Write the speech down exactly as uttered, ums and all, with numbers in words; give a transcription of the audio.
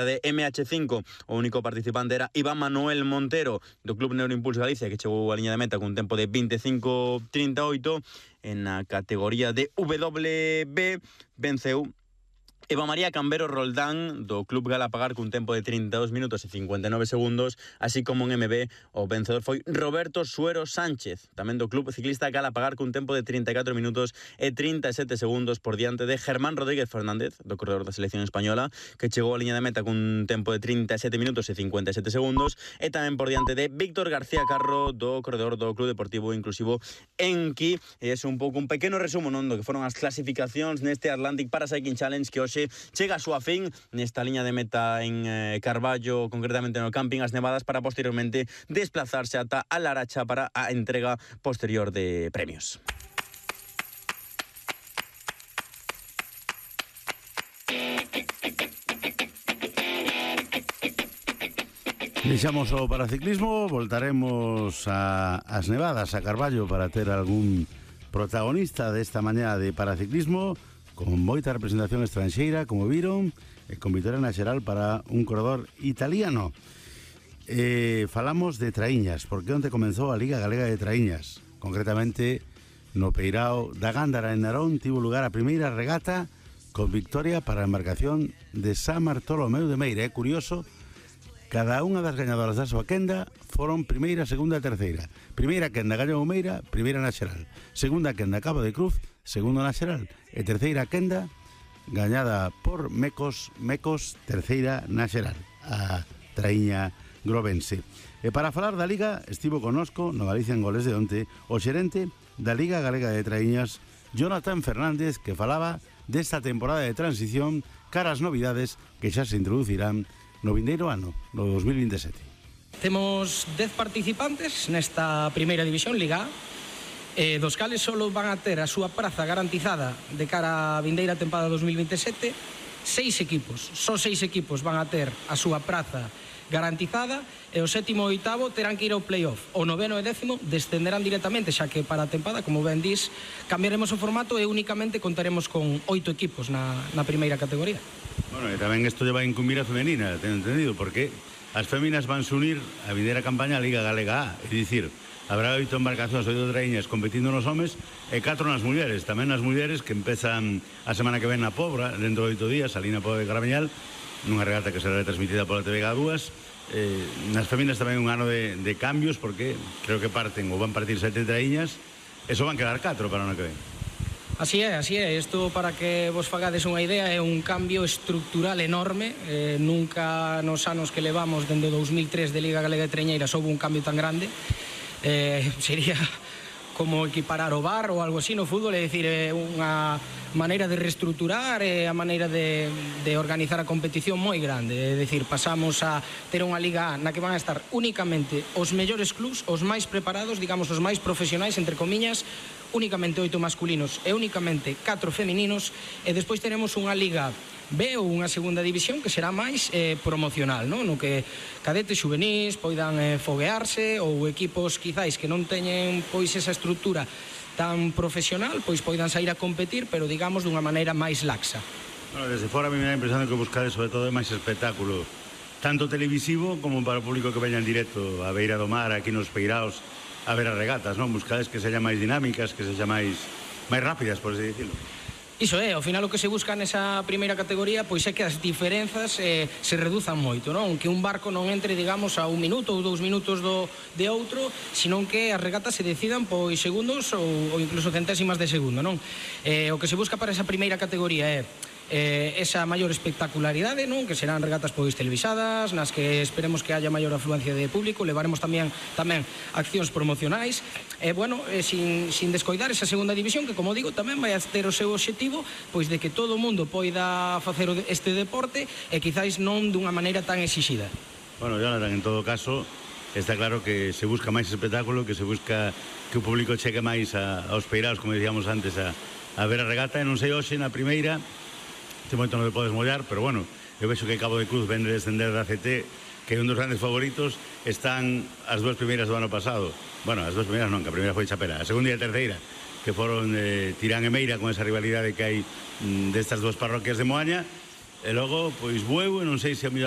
de M H cinco, o único participante era Iván Manuel Montero do Club Neuroimpulso Galicia, que chegou a liña de meta cun tempo de veinticinco treinta e oito. En a categoría de W B venceu Eva María Cambero Roldán do Club Galapagar cun tempo de trinta e dous minutos e cincuenta e nove segundos, así como en M B o vencedor foi Roberto Suero Sánchez, tamén do Club Ciclista Galapagar cun tempo de trinta e catro minutos e trinta e sete segundos por diante de Germán Rodríguez Fernández, do corredor da selección española, que chegou a liña de meta cun tempo de trinta e sete minutos e cincuenta e sete segundos, e tamén por diante de Víctor García Carro, do corredor do Club Deportivo Inclusivo Enki. E é un pouco un pequeno resumo, non, do que foron as clasificacións neste Atlantic Paracycling Challenge, que hoxe chega a súa fin nesta liña de meta en eh, Carballo, concretamente no Camping As Nevadas, para posteriormente desplazarse ata a Laracha para a entrega posterior de premios. Deixamos o paraciclismo, voltaremos a As Nevadas, a Carballo, para ter algún protagonista desta mañá de paraciclismo, con moita representación estranxeira, como viron, e con vitória na xeral para un corredor italiano. Eh, falamos de traíñas, porque onte comenzou a Liga Galega de Traíñas. Concretamente, no Peirao da Gándara, en Narón, tivo lugar a primeira regata con victoria para a embarcación de San Bartolomeu de Meira. É curioso, cada unha das gañadoras da súa quenda foron primeira, segunda e terceira. Primeira quenda gañou Meira, primeira na xeral. Segunda quenda Cabo de Cruz, segundo na xeral. E terceira quenda gañada por Mecos, Mecos, terceira na xeral, a traíña grovense. E para falar da Liga, estivo conosco no Galicia en Goles de onte o xerente da Liga Galega de Traíñas, Jonathan Fernández, que falaba desta temporada de transición cara ás novidades que xa se introducirán no vindeiro ano, no dos mil vinte e sete. Temos dez participantes nesta primeira división, Liga A, eh, dos cales só van a ter a súa praza garantizada de cara á vindeira tempada dos mil vinte e sete. Seis equipos, só seis equipos van a ter a súa praza garantizada, e o sétimo e oitavo terán que ir ao playoff. O noveno e décimo descenderán directamente, xa que para a tempada, como ben dis, cambiaremos o formato e únicamente contaremos con oito equipos na, na primeira categoría. Bueno, e tamén isto lle vai incumbir a femenina, ten entendido, porque as féminas van se unir a vindeira campaña a Liga Galega A, é dicir, habrá oito embarcacións, oito traíñas competindo nos homes e catro nas mulleres. Tamén nas mulleres, que empezan a semana que ven na Pobra, dentro de oito días, ali na Pobra de Carameñal, nunha regata que será transmitida pola T V G A dúas. Eh, nas féminas tamén un ano de, de cambios, porque creo que parten ou van partir sete traíñas, e só van quedar catro para o ano que ven. Así é, así é. Isto, para que vos fagades unha idea, é un cambio estructural enorme. Eh, nunca nos anos que levamos dende o dous mil tres de Liga Galega de Traíñeiras houve un cambio tan grande. Eh, sería como equiparar o bar ou algo así no fútbol, é dicir, é unha maneira de reestructurar, é a maneira de, de organizar a competición moi grande. É dicir, pasamos a ter unha Liga A na que van a estar únicamente os mellores clubs, os máis preparados, digamos, os máis profesionais, entre comiñas, únicamente oito masculinos e únicamente catro femininos, e despois teremos unha Liga B ou unha segunda división que será máis eh, promocional, non? No que cadetes xuvenís poidan eh, foguearse, ou equipos quizáis que non teñen pois esa estructura tan profesional, pois poidan sair a competir, pero digamos dunha maneira máis laxa. Bueno, desde fora a mí me dá a impresión de que buscades sobre todo é máis espectáculo, tanto televisivo como para o público que veña en directo a beira do mar, aquí nos Peiraos, a ver as regatas, non? Buscades que sexan máis dinámicas, que sexan máis máis rápidas, por así dicirlo. Iso é, ao final o que se busca nesa primeira categoría pois é que as diferenzas eh, se reduzan moito, non? Que un barco non entre, digamos, a un minuto ou dous minutos do, de outro, senón que as regatas se decidan pois segundos ou, ou incluso centésimas de segundo, non? Eh, o que se busca para esa primeira categoría é eh, esa maior espectacularidade, non? Que serán regatas pois televisadas, nas que esperemos que haya maior afluencia de público. Levaremos tamén tamén accións promocionais, e eh, bueno, eh, sin, sin descoidar esa segunda división, que, como digo, tamén vai a ter o seu obxectivo pois de que todo o mundo poida facer este deporte, e quizáis non dunha maneira tan exixida. Bueno, Jonathan, en todo caso, está claro que se busca máis espectáculo, que se busca que o público cheque máis a, aos Peiraos, como decíamos antes, a, a ver a regata. E non sei hoxe na primeira, este momento non te podes mollar, pero bueno, eu vexo que Cabo de Cruz vende descender da C T, que é un dos grandes favoritos. Están as dúas primeiras do ano pasado. Bueno, as dúas primeiras non, que a primeira foi Chapela, a segunda e a terceira, que foron eh, Tirán e Meira, con esa rivalidade que hai mm, destas dúas parroquias de Moaña. e logo, pois, bueu, e non sei se a mellor